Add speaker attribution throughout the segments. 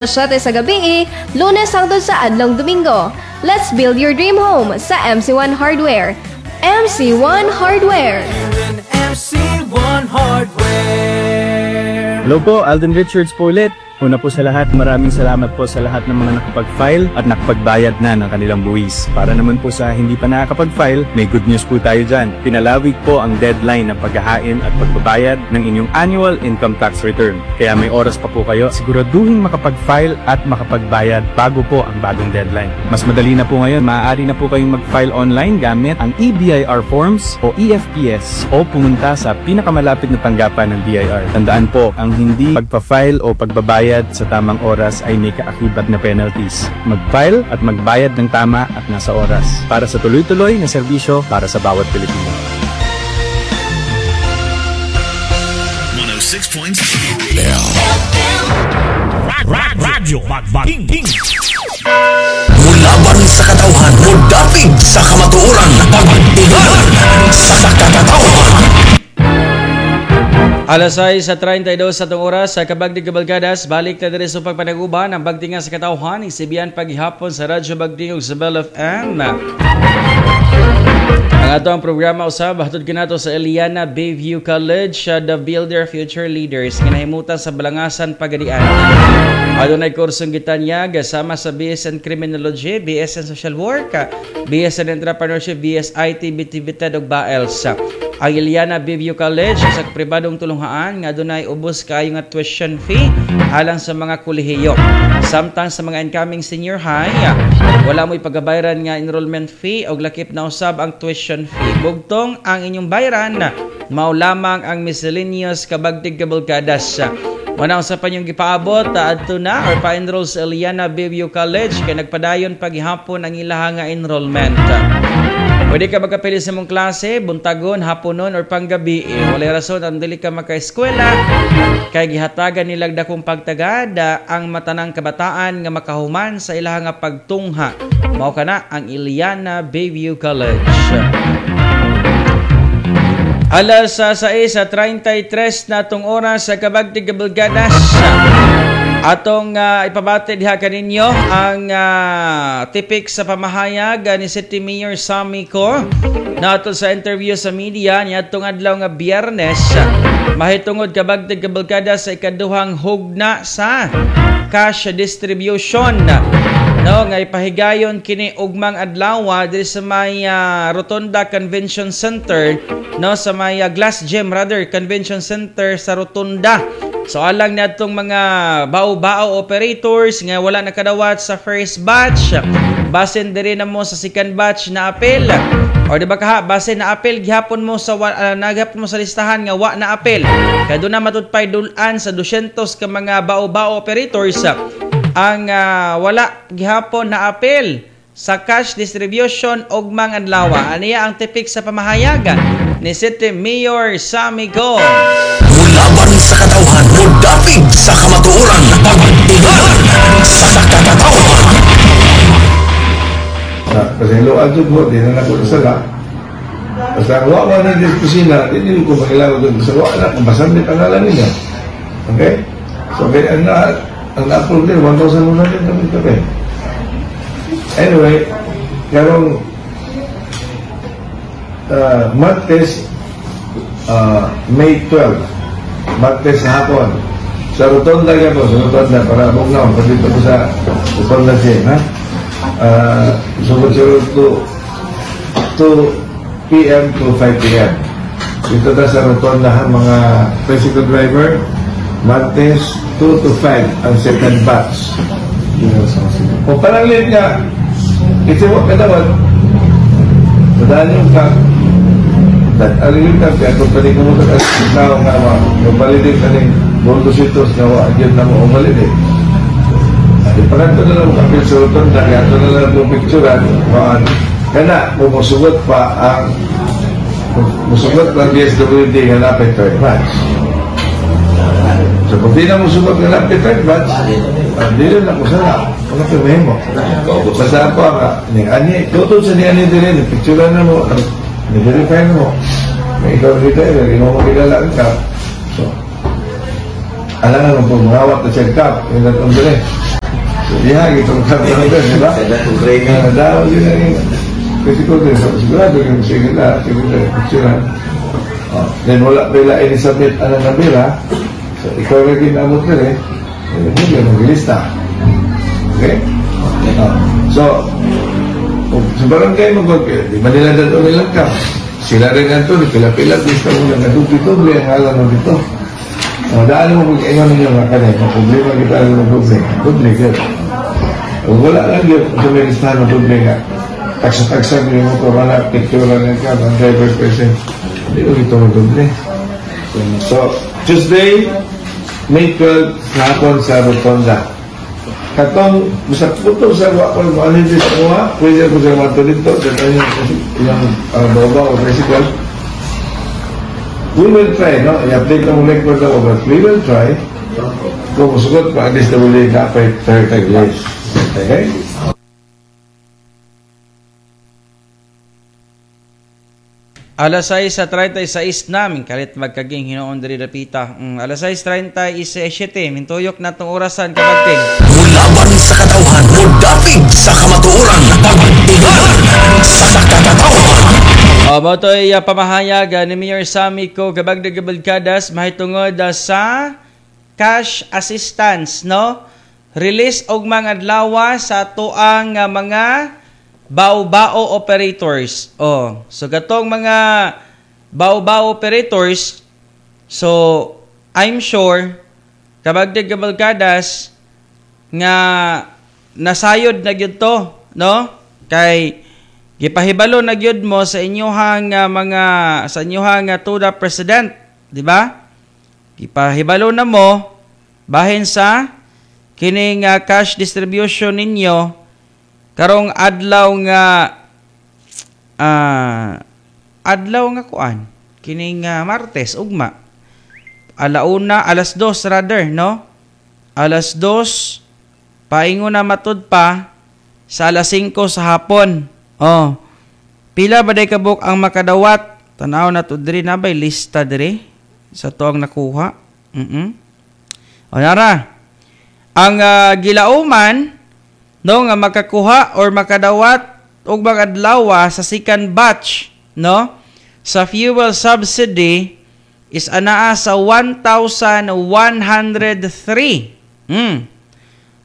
Speaker 1: 7 sa gabi, Lunes hangtod sa adlong Domingo. Let's build your dream home sa MC1 Hardware. MC1 Hardware.
Speaker 2: MC1 Hardware.
Speaker 3: Hello po, Alden Richards po ulit. Una po sa lahat, maraming salamat po sa lahat ng mga nakapag-file at nakapagbayad na ng kanilang buwis. Para naman po sa hindi pa nakakapag-file, may good news po tayo dyan. Pinalawig po ang deadline ng paghahain at pagbabayad ng inyong annual income tax return. Kaya may oras pa po kayo, siguraduhin makapag-file at makapagbayad bago po ang bagong deadline. Mas madali na po ngayon, maaari na po kayong mag-file online gamit ang eBIR forms o eFPS o pumunta sa pinakamalapit na tanggapan ng BIR. Tandaan po, ang hindi pagpa-file o pagbabayad sa tamang oras ay may kaakibat na penalties. Mag-file at magbayad ng tama at nasa oras para sa tuloy-tuloy na serbisyo para sa bawat Pilipino.
Speaker 4: 106.7.
Speaker 5: Radyo King King.
Speaker 4: Mulaban sa katawhan, mudapig sa kamatuoran, pagtigan sa katawhan.
Speaker 6: Alas 6 sa 32 sa atong oras sa Kabagdig Kabalgadas, balik na diri sa pagpanaguban ang Bagdingan sa Katawhan, isibian paghihapon sa Radyo Bagding ug sa Bell FM. Ang ato ang programa usab hatod kinato sa Eliana Bayview College, the Builder Future Leaders, ginahimutan sa Balangasan, Pagadian. Adunay kursong gitanyag sama sa BSN Criminology, BSN Social Work, BSN Entrepreneurship, BS IT, BTVTED ug BAELS. Ang Eliana Bayview College sa pribadong tulunghaan nga adunay ubos kaayo nga tuition fee alang sa mga kolehiyo. Samtang sa mga incoming senior high, wala mo'y pagabayaran nga enrollment fee og lakip na usab ang tuition fee. Bugtong ang inyong bayaran mao lamang ang miscellaneous, Kabagtig Kabulkadas. Wala sa pa inyong gipaabot, adto na or pa-enroll sa Eliana Bayview College kay nagpadayon paghihapon ang ilaha nga enrollment. Pwede ka magkapili sa mong klase, buntagon, haponon, or panggabi. Eh, walay rason ang dili ka maka-eskwela kay gihatagan nilag dakong pagtagad ang matanang kabataan nga makahuman sa ilaha nga pagtungha. Mao kana ang Eliana Bayview College. Alas sa 6:33 na atong oras sa Kabagtig Kabulgadas. Atong ipabati diha kaninyo ang tipik sa pamahayag ni City Mayor Sammy Co nato sa interview sa media niadtong adlaw nga Biyernes mahitungod, Kabagtig Kabulgada, sa ikaduhang hugna sa cash distribution, no, nga ipahigayon kini ugmang adlaw diri sa may Rotonda Convention Center, no, sa may Glass Gym rather Convention Center sa Rotonda. So alang niadtong mga bao-bao operators nga wala nakadawat sa first batch, basin diri na mo sa second batch na apel. Or di ba kaha, basin na apel gihapon mo sa naghapon mo sa listahan nga wa na apel. Kay doon na matudpay dulan sa 200 ka mga bao-bao operators ang wala gihapon na apel sa cash distribution ugmang adlaw. Aniya ang tipik sa pamahayagan ni City Mayor Sammy Go.
Speaker 4: Mulaban sa katawhan, mudapig sa kamatuoran, pagtigan sa katawhan.
Speaker 7: Sa pasayloan jud mo, di na nako nasala. Basta ang wa man ni kusina, di din ko makilala doon. Basta wa na, kung basta may pangalan niya. Okay? So, kaya ang na-approve din, 1,100 kami kami. Anyway, karong Martes, May 12, Martes sa hapon, sa Rotonda po, sa Rotonda, para bugnaw, pati ko sa Rotonda siya, ha? Sugod siguro to 2 p.m. to 5 p.m. Dito ta sa Rotonda ha, mga tricycle driver, Martes 2 to 5 ang second batch. Kung parang late nga, ito mo kadawat, madaan yung ka, alin ka, kaya kung pwede ko mo tao nga ma, mabalidate ka ning Boldo sitos nga wa agad na mo umalidate. Ipakanto na lang kapil sa Rotonda, kaya ito na lang mo picturean, maan, kana, kung musugot pa ang musugot ng DSWD nga napay third batch. So kung di na musugot nga napay third batch, dili na ko sana, wala ko mo. Basta ako nga, ni ani, tutod sa ni ani dili, ni picturean na mo, ni verify na mo. May ikaw dito, eh, mo makilala ang kap. So, alam nga kung mangawat na siya kap, yung datong dili. Diha, itong kapatid, di ba? Nga, daw, yun ang tricycle driver. Sigurado yung sige na, sigurado, picture. Oh, then wala pala ini-submit ang nabira. So, ikaw rin ginamot ka rin. Hindi ka maglista. Okay? Oh. So, sa barangay mo, di ba nila dato nilang ka? Sila rin ang to, pila-pila, gusto mo lang, nadubli-dubli ang ngalan mo dito. O, daan mo mag-ingon ninyo nga kanay, may problema kita ang madubli. Dubli, good. Kung wala lang yun, sa may listahan ng dubli nga, tagsa-tagsa mo yung motor, wala, picture lang yan ka, ang driver's license, hindi mo ito madubli. So, Tuesday, May 12, sa hapon sa Rotonda. Katong, basta putol sa wa ko, ano yung sa kuha, pwede ako sa mga dito, dito yung bawa o tricycle. We will try, no? I-update na mo record ako, but we will try. Kung musugot pa, at least na muli na pa 30 days. Okay?
Speaker 6: Alas 6:36 namin kalit magkaging hinoon diri dapita. Alas 6:37 mintuyok na tong orasan kabagting.
Speaker 4: Mulaban sa katawhan, mudapig sa kamatuoran, pagtilan sa katawhan.
Speaker 6: Mao toy pamahayag ni Mayor Sammy Co kabagdag gabalkadas mahitungod sa cash assistance, no? Release og mga adlaw sa tuang mga bao-bao operators. Oh, so katong mga bao-bao operators, so I'm sure kabagdag gabalkadas nga nasayod na gyud to, no? Kay gipahibalo na gyud mo sa inyohang mga sa inyohang tuda president, di ba? Gipahibalo na mo bahin sa kining cash distribution ninyo karong adlaw nga adlaw nga kuan kining Martes ugma alauna alas 2 rather, no? Alas 2 paingon na matud pa sa alas 5 sa hapon. Oh. Pila ba day kabuk ang makadawat? Tan-aw na to diri na bay lista diri sa tuang nakuha. O nara. Ang gilauman no nga makakuha or makadawat og mga adlaw sa second batch, no, sa fuel subsidy is anaa sa 1,103.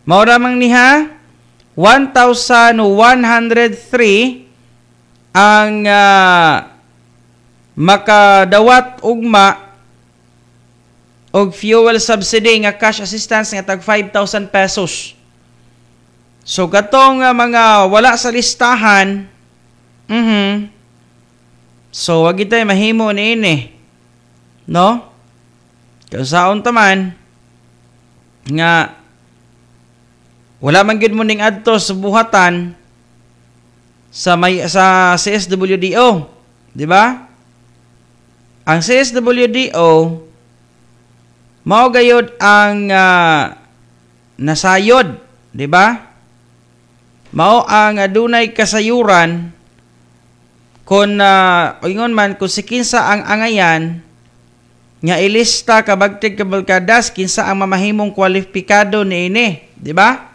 Speaker 6: Mao ramang niha 1,103 ang makadawat ugma og fuel subsidy nga cash assistance nga tag 5,000 pesos. So katong mga wala sa listahan, so wag itay mahimo niini, no? Kausaon ta man nga wala man gyud mo ning adto sa buhatan sa may sa CSWDO, di ba? Ang CSWDO mao gayud ang nasayod, di ba? Mao ang adunay kasayuran kon ingon man kung si kinsa ang angayan nga ilista kabagtig kabalkadas kinsa ang mamahimong kwalipikado niini, di ba?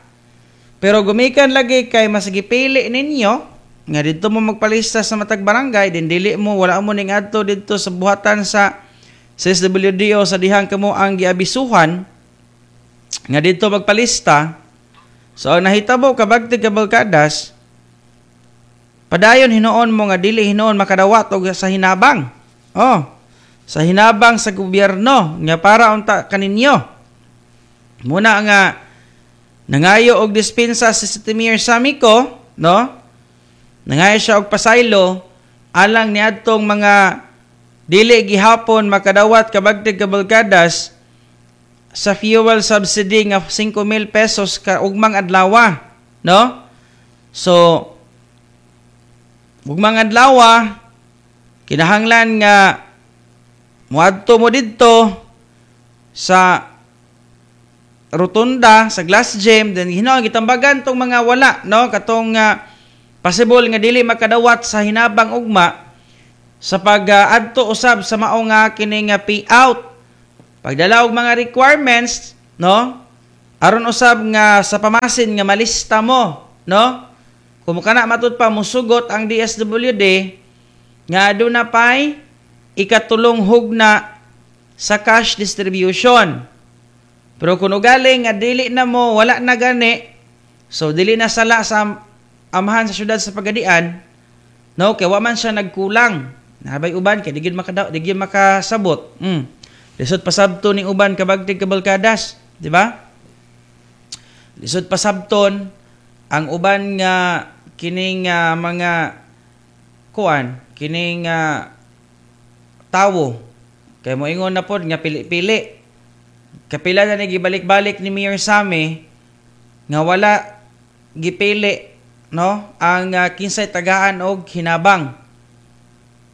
Speaker 6: Pero gumikan lagi kay mas gipili ninyo nga didto mo magpalista sa matag barangay, din dili mo wala mo ning adto didto sa buhatan sa CSWDO sa dihang kamo ang giabisuhan nga didto magpalista. So ang nahitabo kabagtig kabalkadas, padayon hinuon mo nga dili hinuon makadawat og sa hinabang. Oh, sa hinabang sa gobyerno nga para unta kaninyo. Muna nga nangayo og dispensa si City Mayor Sammy Co, no? Nangayo siya og pasaylo alang niadtong mga dili gihapon makadawat kabagtig kabalkadas sa fuel subsidy nga 5,000 pesos ka ugmang adlaw, no? So ugmang adlaw kinahanglan nga moadto mo didto sa rotunda sa Glass Gym, then hinuon gitambagan tong mga wala, no, katong possible nga dili makadawat sa hinabang ugma sa pag-adto usab sa mao nga kining payout. Pagdala og mga requirements, no? Aron usab nga sa pamasin nga malista mo, no? Kung kana matud pa musugot ang DSWD nga aduna pay ikatulong hugna sa cash distribution. Pero kung ugaling nga dili na mo, wala na gani, so dili na sala sa amahan sa syudad sa Pagadian, no, kay wa man siya nagkulang. Nabay uban kay di gyud makadaw, di gyud makasabot. Lisod pasabton ning uban kabagtig kabalkadas, di ba? Lisod pasabton ang uban nga kining mga kuan, kining tawo. Kay moingon na pod nga pili-pili. Kapila na ni gibalik-balik ni Mayor Sammy nga wala gipili, no, ang kinsay tagaan og hinabang.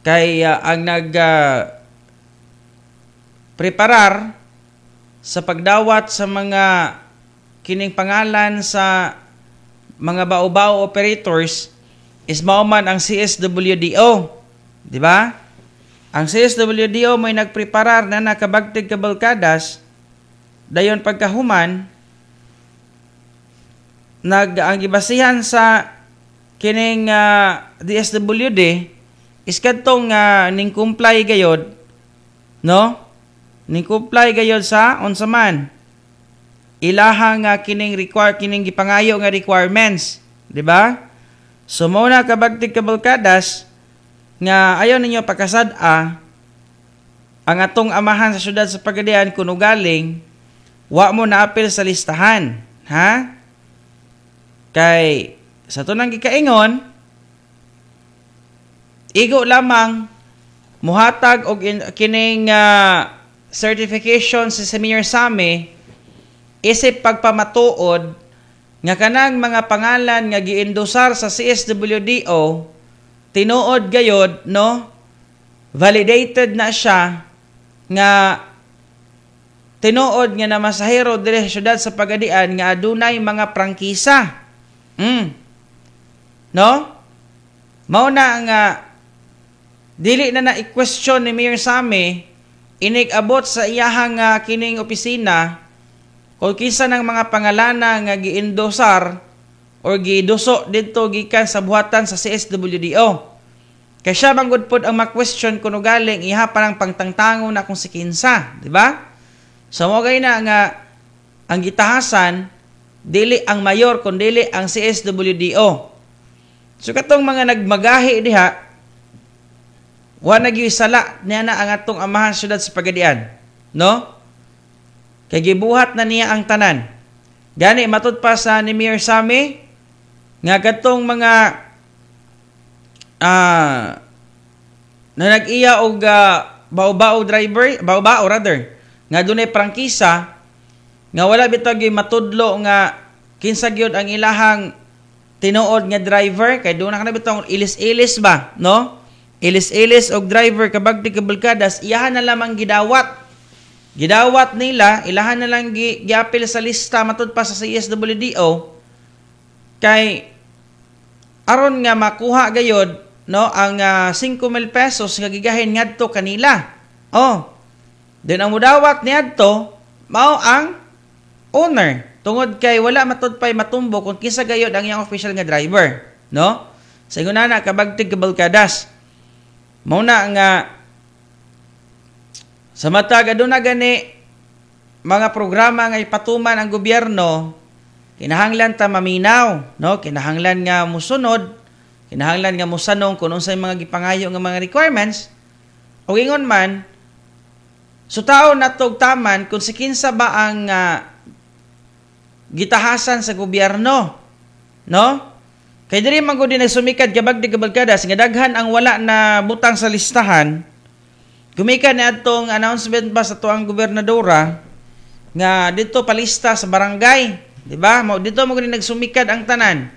Speaker 6: Kay ang nag preparar sa pagdawat sa mga kining pangalan sa mga bao-bao operators is mao man ang CSWDO, di ba? Ang CSWDO may nagpreparar na nakabagtig kabalkadas, dayon pagkahuman nag ang gibasihan sa kining DSWD is kadtong ning comply gayod, no? Ning comply gayod sa unsa man ilaha nga kining require, kining gipangayo nga requirements, di ba? So mao na kabagtig kabalkadas nga ayaw ninyo pakasad-a ang atong amahan sa syudad sa Pagadian kun ugaling wa mo naapil sa listahan, ha? Kay sa tunang gikaingon, igo lamang muhatag og kining certification sa Mayor Sammy isip pagpamatuod nga kanang mga pangalan nga giendosar sa CSWDO tinuod gayod, no, validated na siya nga tinuod nga namasahero diri sa syudad sa Pagadian nga adunay mga prangkisa. No? Mao na nga dili na na i-question ni Mayor Sammy inig-abot sa iyahang kining opisina kung kinsa ng mga pangalana nga giendosar or giduso didto gikan sa buhatan sa CSWDO. Kay siya manggod pod ang ma-question kuno galing iha pa ng pangtangtango na kung si kinsa, di ba? So mo gay na nga ang gitahasan dili ang mayor kun dili ang CSWDO. So katong mga nagmagahi diha wa na gyud sala niya na ang atong amahan syudad sa Pagadian, no? Kay gibuhat na niya ang tanan. Gani matud pa sa ni Mayor Sammy nga katong mga na nag-iya og bao-bao driver, bao-bao rather, nga dunay prangkisa nga wala bitaw gyud matudlo nga kinsa gyud ang ilahang tinuod nga driver, kay doon na kana bitaw ilis-ilis ba, no? Ilis-ilis og driver kabagti kabalkadas, iyahan na lamang gidawat. Gidawat nila, ilahan na lang giapil sa lista matud pa sa CSWDO kay aron nga makuha gayod, no, ang 5,000 pesos nga gigahin ngadto kanila. Oh. Then ang mudawat niadto mao ang owner tungod kay wala matud pay matumbo kung kinsa gayod ang iyang official nga driver, no? Sa ingon na kabagtig kabalkadas. Mao na nga sa matag aduna gani mga programa nga ipatuman ang gobyerno, kinahanglan ta maminaw, no? Kinahanglan nga musunod, kinahanglan nga mosanong kung unsay mga gipangayo nga mga requirements. O ingon man, so tao natog taman kung si kinsa ba ang gitahasan sa gobyerno, no? Kay diri man gud nagsumikad kabagdi kabalkadas nga daghan ang wala na butang sa listahan. Gumikan ni adtong announcement ba sa tuang gobernadora nga dito palista sa barangay, di ba? Mao dito mo gud nagsumikad ang tanan.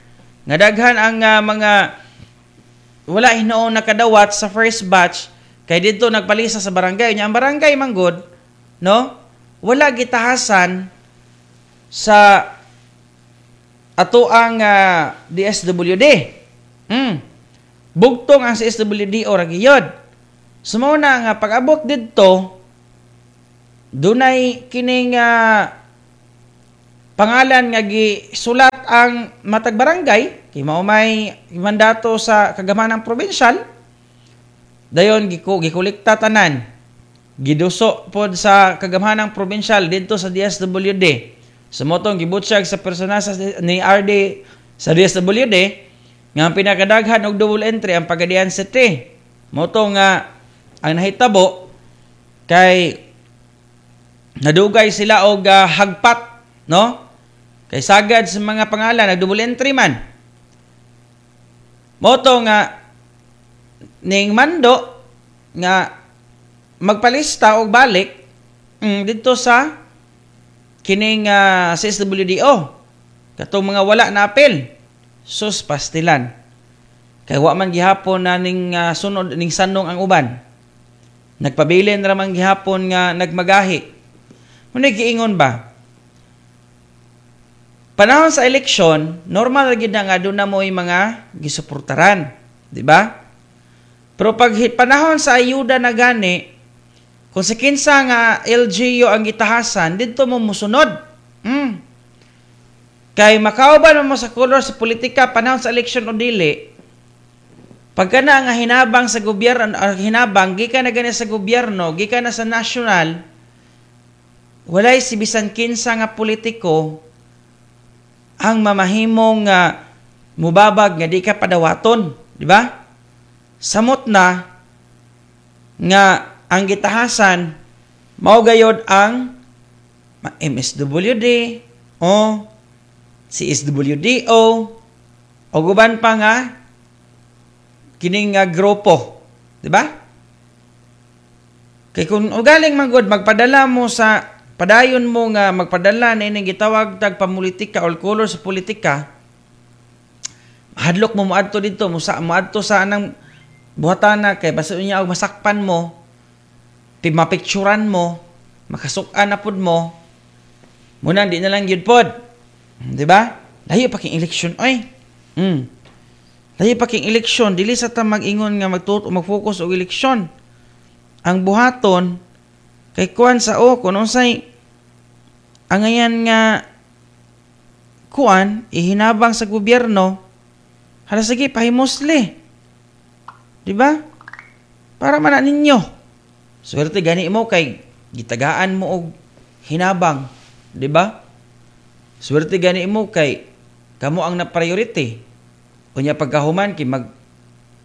Speaker 6: Nga daghan ang mga wala hinuon nakadawat sa first batch kay dito nagpalista sa barangay. Nya ang barangay man gud, no? Wala gitahasan sa ato ang DSWD. Bugtong ang CSWD o ragiyod. So mao na nga pag-abot didto dunay kining pangalan nga gisulat ang matag barangay kay mao may mandato sa kagamanang provincial. Dayon gikolekta tanan, giduso pod sa kagamhanang provincial didto sa DSWD. Sumotong gibutsyag sa personal ni RD sa DSWD nga ang pinakadaghan og double entry ang Pagadian City. Moto nga ang nahitabo kay nadugay sila og hagpat, no? Kay sagad sa mga pangalan nag double entry man. Moto nga ning mando nga magpalista og balik didto sa kining CSWDO katong mga wala na apel. Sus pastilan kay wa man gihapon na ning sunod ning sanong ang uban. Nagpabilin ra man gihapon nga nagmagahi. Muna giingon ba? Panahon sa eleksyon, normal ra gid na nga doon na mo'y mga gisuportaran, di ba? Pero pag panahon sa ayuda na gani, kung sa kinsa nga LGU ang gitahasan, didto mo musunod. Kay makauban mo sa color sa politika panahon sa eleksyon o dili, pagka na nga hinabang sa gobyerno, hinabang gikan na gani sa gobyerno, gikan na sa national, walay si bisan kinsa nga politiko ang mamahimong mubabag nga di ka padawaton, di ba? Samot na nga ang gitahasan mao gayod ang MSWD o CSWDO o guban pa nga kining grupo, di ba? Kay kung ugaling manggod magpadala mo sa padayon mo nga magpadala na ining gitawag tag pamulitika or color sa politika, hadlok mo moadto didto, moadto sa anang buhatana kay basta unya og masakpan mo, mapicturan mo, makasukan na pud mo, muna di na lang gyud pod. Di ba? Layo pa king eleksyon oy. Layo pa king eleksyon, dili sa ta mag-ingon nga mag-focus og eleksyon. Ang buhaton kay kuan sa o kun unsay angayan nga kuan ihinabang sa gobyerno, hala sige pahimusli. Di ba? Para man na ninyo. Swerte gani mo kay gitagaan mo og hinabang, di ba? Swerte gani mo kay kamo ang na priority. Unya pagkahuman kay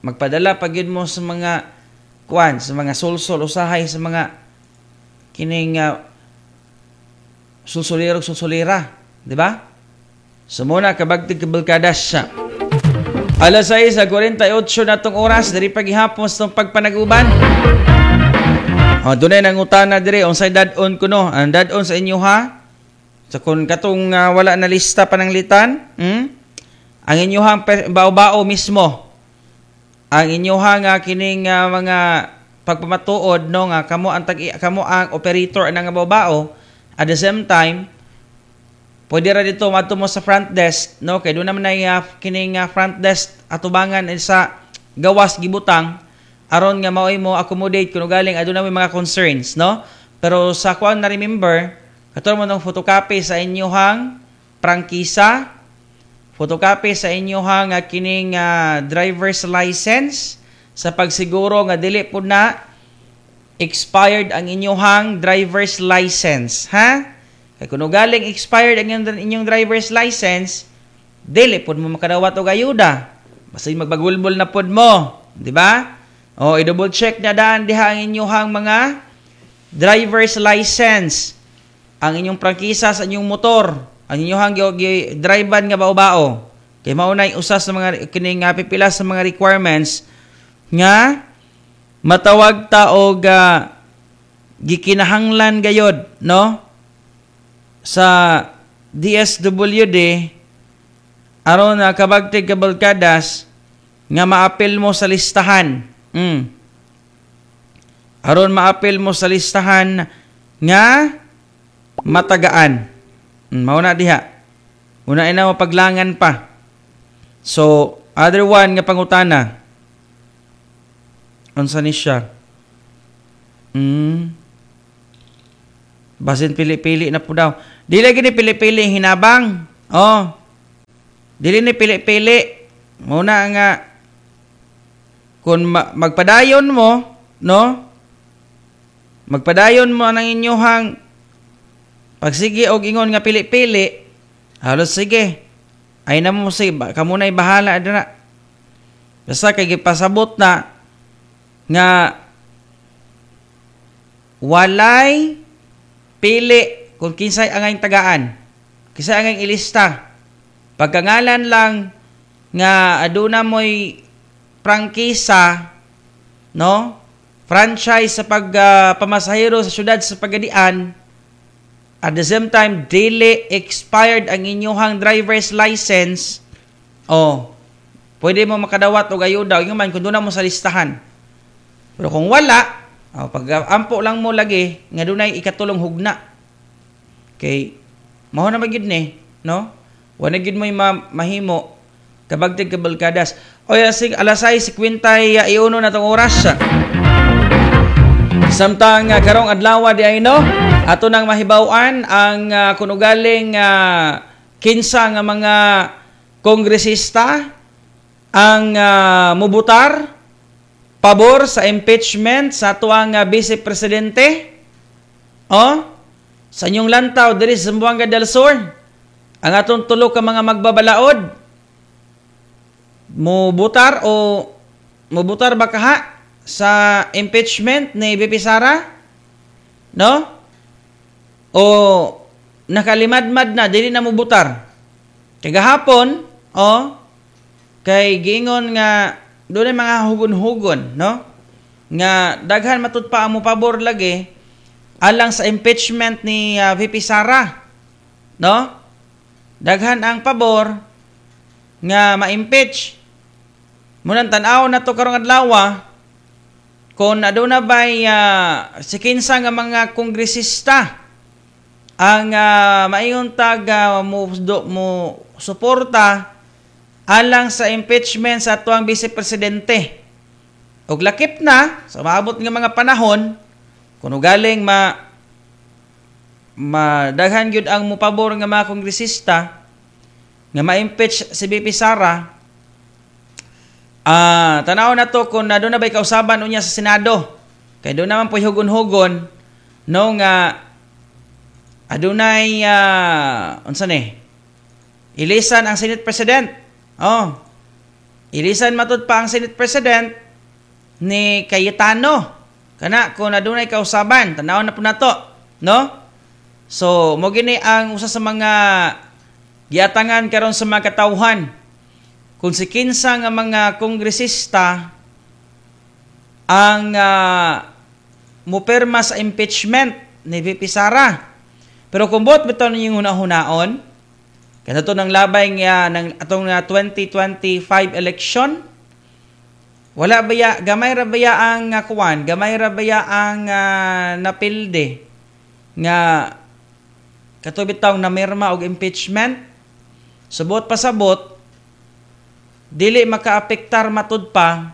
Speaker 6: magpadala pa gyud mo sa mga kuan, sa mga sulsol usahay sa mga kining sulsulero sulsulera, di ba? Sumuna kabagtig kabalkadas siya. Alas 6:48 na tong oras diri paghihapon sa pagpanaguban. Oh, dunay nangutana diri unsay dad-on kuno? Ang dad-on sa inyo ha? Sa kun katong wala na lista pananglitan, ang inyohang bao-bao mismo. Ang inyohang kining mga pagpamatuod no nga kamo ang kamo ang operator ang bao-bao. At the same time, pwede ra dito madto mo sa front desk no kay doon naman ay kining front desk atubangan sa gawas gibutang aron nga maoy mo accommodate kuno galing aduna may mga concerns no. Pero sa kuan na remember kato mo nang photocopy sa inyohang prangkisa, photocopy sa inyohang kining driver's license sa pagsiguro nga dili pud na expired ang inyohang driver's license, ha? Kay kuno galing expired ang inyong driver's license, dili pud mo makadawat og ayuda. Basta magbagulbol na pud mo, di ba? O i-double check na daan diha ang inyohang mga driver's license, ang inyong prangkisa sa inyong motor, ang inyohang drive-an nga bao-bao. Kay mao na usa sa mga kining pipila sa mga requirements nga matawag ta og gikinahanglan gayod no sa DSWD aron na kabagtig kabalkadas nga maapil mo sa listahan. Aron maapil mo sa listahan nga matagaan. Mao na diha. Una ina mo paglangan pa. So, other one nga pangutana. Unsa ni siya? Basin pili-pili na po daw. Dili gini pili-pili hinabang. Oh. Dili ni pili-pili. Muna nga kung magpadayon mo, no? Magpadayon mo ang inyuhang pagsige og ingon nga pili-pili, halos sige. Ay na mo sige, kamo na'y bahala dira. Basta kay gipasabot na nga walay pili kung kinsay angay tagaan, kinsay angay ilista. Pagkangalan lang nga aduna mo'y prangkisa, no? Franchise sa pagpamasahero sa syudad sa Pagadian, at the same time dili expired ang inyuhang driver's license, oh, pwede mo makadawat og ayuda ingon man kung doon mo sa listahan. Pero kung wala, oh, pag ampo lang mo lagi nga dunay ikatulong hugna. Kay mao na magyud ni, no? Wala gyud mo'y mahimo kabagtig kabalkadas. Oy, alas 6:51 na tong oras. Samtang karong adlaw di ay no, ato nang mahibaw-an ang kunugaling kinsa nga mga kongresista ang mubutar pabor sa impeachment sa atuang vice presidente. Oh, sa inyong lantaw diri sa Zamboanga del Sur, ang atong tulo ka mga magbabalaod mubutar o mubutar ba kaha sa impeachment ni VP Sara? No? O nakalimadmad na dili na mubutar. Kay gahapon, oh, kay giingon nga dunay mga hugon-hugon, no? Nga daghan matud pa ang mopabor lagi alang sa impeachment ni VP Sara, no? Daghan ang pabor nga ma-impeach. Munang tan-aw na to karong adlaw kung aduna bay si kinsa nga mga kongresista ang maingon tag mo suporta alang sa impeachment sa atuang vice presidente. Og lakip na sa maabot nga mga panahon kun ugaling madaghan gyud ang mopabor nga mga kongresista nga ma-impeach si VP Sara. Tanaw na to kung aduna bay kausaban unya sa Senado. Kay doon naman po'y hugon-hugon no nga adunay unsa ni? Ilisan ang Senate President. Oh. Ilisan matud pa ang Senate President ni Cayetano. Kana kung adunay kausaban, tanaw na po nato, no? So, mo gini ang usa sa mga giatangan karon sa mga katawhan. Kung si kinsa nga mga kongresista ang mupirma sa impeachment ni VP Sara. Pero kung buot bitaw ninyong huna-hunaon, kada to ng labay nga ng atong 2025 election, wala baya, gamay ra baya ang kuwan, gamay ra baya ang napilde nga kato bitaw namirma og impeachment. Subot pasabot dili makaapektar matud pa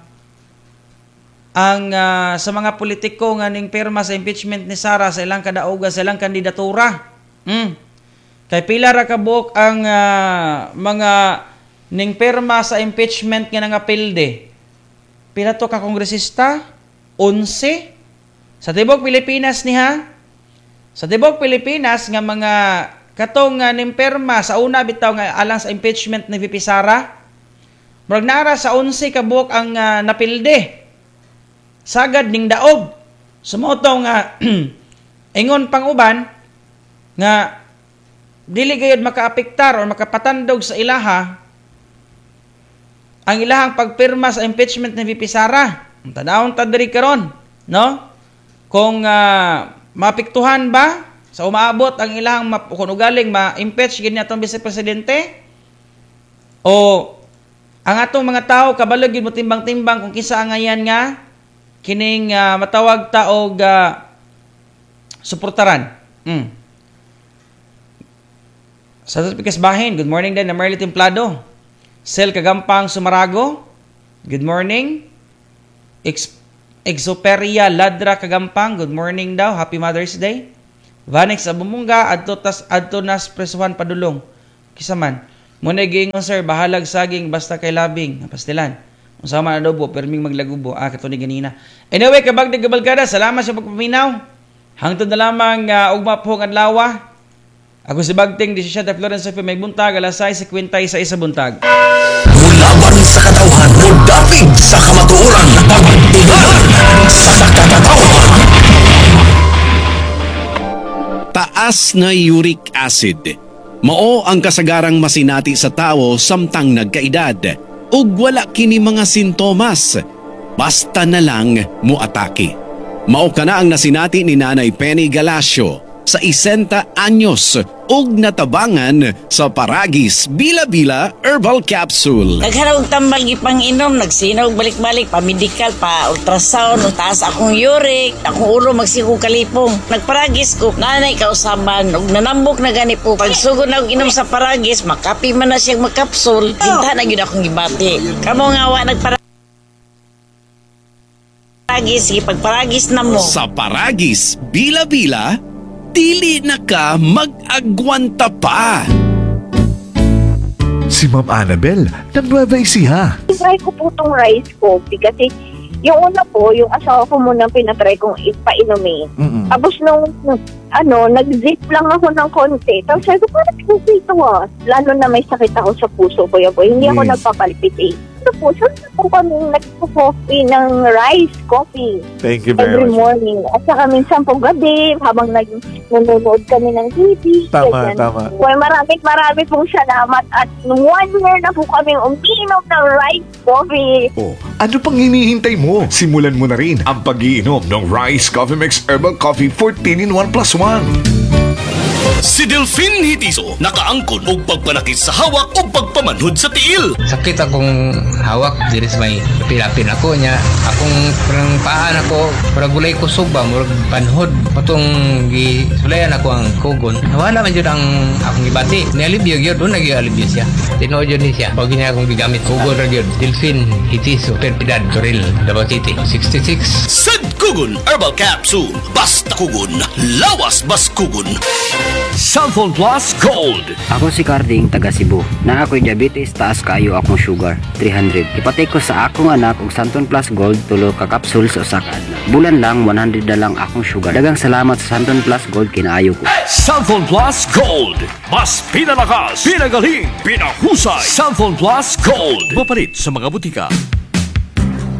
Speaker 6: ang sa mga politiko nga ning pirma sa impeachment ni Sara sa ilang kadaugan, sa ilang kandidatura. Kay pila ra ka buok ang mga ning pirma sa impeachment nga nangapilde. Pila to ka kongresista? 11. Sa tibok Pilipinas niha. Sa tibok Pilipinas nga mga katong ning pirma sa una bitaw nga alang sa impeachment ni VP Sara, murag nara sa 11 ka buok ang napilde. Sagad ning daog. Sumuto nga ingon pang uban nga dili gayud makaapektar o makapatandog sa ilaha ang ilahang pagpirma sa impeachment ni VP Sara. Tanawon ta diri karon, no? Kung maapektuhan ba sa umaabot ang ilahang kung ugaling ma-impeach gid ni atong vice presidente o ang atong mga tao kabalo gyud mo timbang-timbang kung kinsa angayan nga kining matawag ta og suportaran. Sa Pikas Bahin, good morning din na Merly Templado. Sel Kagampang Sumarago, good morning. Exoperia Ladra Kagampang, good morning daw. Happy Mother's Day. Vanix Abumungga adto tas adto nas presuhan padulong. Kisa man. Muna giingon, sir, bahalag saging basta kay labing pastilan. Unsa man adobo perming maglagubo. Ah, kato ni ganina. Anyway, kabag kabalkada, salamat sa pagpaminaw. Hangtod na lamang ugma po ang adlaw. Ako si Bagting, 17 Florence FM, may buntag, alas 6:56 sa buntag.
Speaker 4: Mulaban sa katawhan, mudapig sa kamatuoran, pagtilan sa katawhan.
Speaker 8: Taas na uric acid. Mao ang kasagarang masinati sa tao samtang nagkaedad. Ug wala kini mga sintomas. Basta na lang muatake. Mao kana ang nasinati ni Nanay Penny Galacio sa 60 anyos ug natabangan sa Paragis Bila-Bila Herbal Capsule.
Speaker 9: Naghanap og tambal gipang inom, nagsinaw balik-balik, pa medical, pa ultrasound, taas akong uric, akong ulo magsigo kalipong. Nagparagis ko, nanay kausaban, ug nanambok na gani po. Pagsugod na og inom sa Paragis, makapi man na siya magkapsul, hinta na gyud akong gibati. Kamo nga wa nagparagis, gipagparagis na mo.
Speaker 8: Sa Paragis Bila-Bila, dili na ka mag-agwanta pa.
Speaker 10: Si Ma'am Annabel ng Nueva Ecija.
Speaker 11: Try ko po tong rice coffee kasi yung una po, yung asawa ko muna pinatry kong ipainumin. Tapos nung, ano, nag-zip lang ako ng konti. Tapos sabi ko, parang okay ito ah. Lalo na may sakit ako sa puso, Kuya Boy. Hindi ako nagpapalpitate. Ito po, saan na po kami nagpo-coffee ng rice coffee
Speaker 10: Thank you very
Speaker 11: every
Speaker 10: much.
Speaker 11: morning. At saka minsan po gabi, habang nanonood kami ng TV.
Speaker 10: Tama,
Speaker 11: ganyan.
Speaker 10: tama.
Speaker 11: Well, maraming marami pong salamat at 1 year na po kami umiinom ng rice coffee.
Speaker 10: Oh, ano pang hinihintay mo? Simulan mo na rin ang pag-iinom ng Rice Coffee Mix Herbal Coffee 14 in 1 plus 1.
Speaker 4: Si Delphine Hitiso, nakaangkon og pagpanakit sa hawak o pagpamanhod sa tiil.
Speaker 12: Sakit akong hawak diri sa may pilapin ako niya. Akong parang paan ako, parang gulay kusog ba, murag panhod. Patong gisulayan ako ang kugon. Wala man jud ang akong gibati. Nialibyo gyud, doon nagyalibyo siya. Tinuod yun ni siya. Pag niya akong gigamit, kugon ra gyud. Delphine Hitiso, Perpidad, Toril, Davao City. 66.
Speaker 4: Sad Kugon Herbal Capsule. Basta kugon, lawas bas kugon. Xanthone Plus Gold.
Speaker 13: Ako si Carding, taga Cebu. Na ako'y diabetes, taas kaayo akong sugar, 300. Ipatay ko sa akong anak og Xanthone Plus Gold, tulo ka capsule sa usa ka adlaw. Bulan lang, 100 na lang akong sugar. Daghang salamat sa Xanthone Plus Gold, kinaayo ko.
Speaker 5: Xanthone Plus Gold. Mas pinalakas, pinagaling, pinahusay. Xanthone Plus Gold. Mapalit sa mga butika.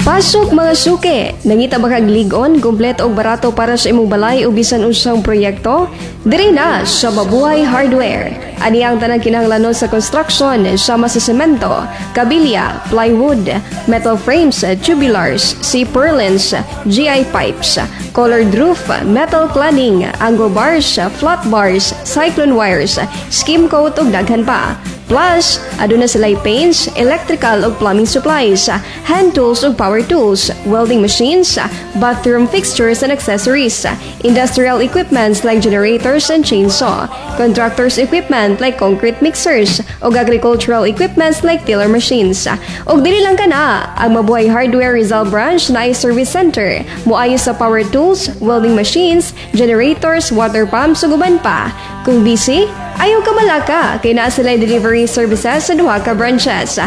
Speaker 1: Pasok, mga suke! Nangita ba kag lig-on, kumpleto og barato para sa imong balay o bisan unsang proyekto? Diri na sa Mabuhay Hardware. Ani ang tanang kinahanglanon sa construction sama sa semento, kabilya, plywood, metal frames, tubulars, C-purlins, GI pipes, colored roof, metal cladding, angle bars, flat bars, cyclone wires, skim coat ug daghan pa. Plus, aduna sila paints, electrical ug plumbing supplies, hand tools ug power tools, welding machines, bathroom fixtures and accessories, industrial equipments like generators and chainsaw, contractors equipment like concrete mixers, ug agricultural equipments like tiller machines. Ug dili lang kana, ang Mabuhay Hardware Rizal Branch naay service center, moayo sa power tools, welding machines, generators, water pumps ug uban pa. Kung busy, ayaw ka malaka kay naa sila delivery services sa duha ka branches.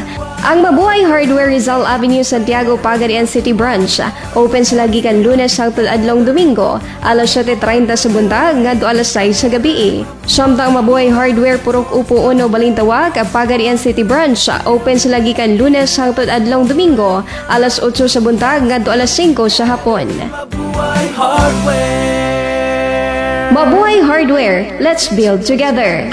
Speaker 1: Ang Mabuhay Hardware Rizal Avenue, Santiago, Pagadian City Branch. Open sila gikan Lunes hangtod adlong Domingo, alas 7:30 sa buntag ngadto alas 6 sa gabi. Samtang Mabuhay Hardware Purok Upo 1, Balintawak, Pagadian City Branch. Open sila gikan Lunes hangtod adlong Domingo, alas 8 sa buntag ngadto alas 5 sa hapon. Mabuhay Hardware, let's build together.